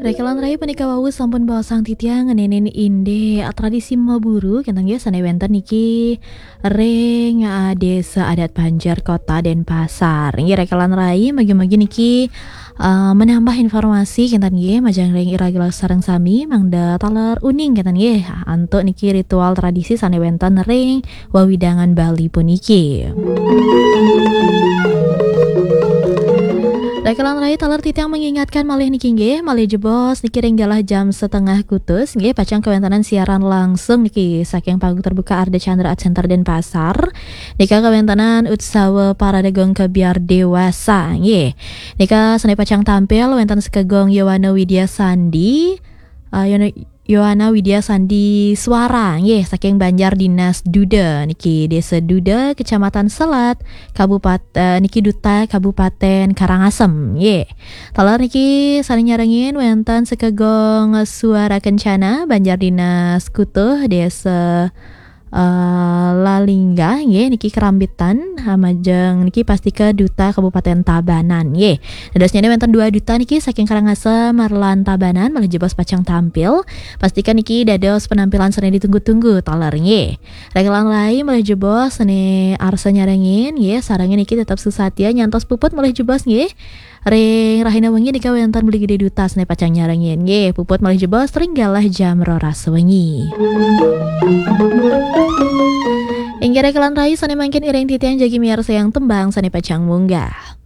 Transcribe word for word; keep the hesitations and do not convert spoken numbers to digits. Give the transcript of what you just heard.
Rekelan rai punika wau sampun baosang titiang ngenenin indik tradisi maburu kenten nggih sane wenten niki ring, eh, Desa Adat Banjar Kota Denpasar. Nggih, rekelan rai, mugi-mugi niki, eh, menambah informasi kenten nggih majeng ring ira sareng sami mangda taler uning kenten nggih antuk niki ritual tradisi sane wenten ring wewidangan Bali puniki. Rekelan rai, taler titiang mengingatkan malih niki nggih, malih jebos niki ring galah jam setengah kutus nggih pacang kawentenan siaran langsung niki saking panggung terbuka Ardha Candra Art Center Denpasar. Nika kawentenan utsawa parade gong kebyar dewasa nggih. Nika sane pacang tampil wenten Sekegong Yowana Widya Sandi, eh, Yono- Yowana Widya Sandi Suara nggih saking Banjar Dinas Duda niki Desa Duda, Kecamatan Selat, Kabupaten, eh, niki Duta Kabupaten Karangasem nggih. Taler niki sane nyarengin wenten Sekegong Suara Kencana, Banjar Dinas Kutuh, Desa, eh, Lalingga nggih niki Kerambitan, eh, majeng niki pastika Duta Kabupaten Tabanan nggih. Dadosnyane wenten dua duta niki saking Karangasem lan Tabanan malih jebos pacang tampil. Pastikan niki dados penampilan sane ditunggu-tunggu taler nggih. Rekelan rai malih jebos sane arsa nyarengin nggih, sarengin niki tetep susatia nyantos puput malih jebos nggih. Ring rahina wengi nika wenten Beli Gede Duta sane pacang nyarengin nggih, puput malih jebos ring galah jam roras wengi. Inggih rekelan rai sane mangkin iring titiang jagi miarsayang tembang sane pacang munggah.